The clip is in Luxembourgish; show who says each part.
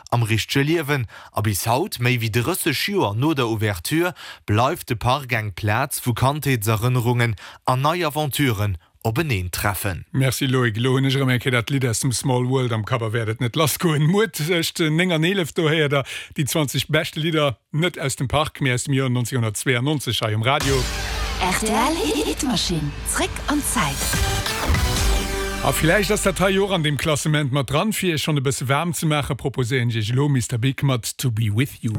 Speaker 1: Am richtege Liewen, a bis haut, méi wéi 30 Joer no der Ouverture, bleift de Park eng Plaz, wou Kandheetserënnerungen an nei Aventuren openeen treffen.
Speaker 2: Merci Loïc, elo hunn ech erëm eng Kéier dat Lidd aus dem Small World am Kapp a wäert et net lass goen. Muer tëscht 9 an 11, do héiert der déi 20 beschte Lidder, net aus dem Park, mee aus dem Joer 1992 hei um Radio.
Speaker 3: Rtl Hitmaschinn, zréck an d'Zäit.
Speaker 2: A villäicht ass dat hei jo och an deem Klassement mat dran. Fir iech schonn e bësse waarm ze maachen, proposéieren ech iech elo Mister Big mat To Be With You.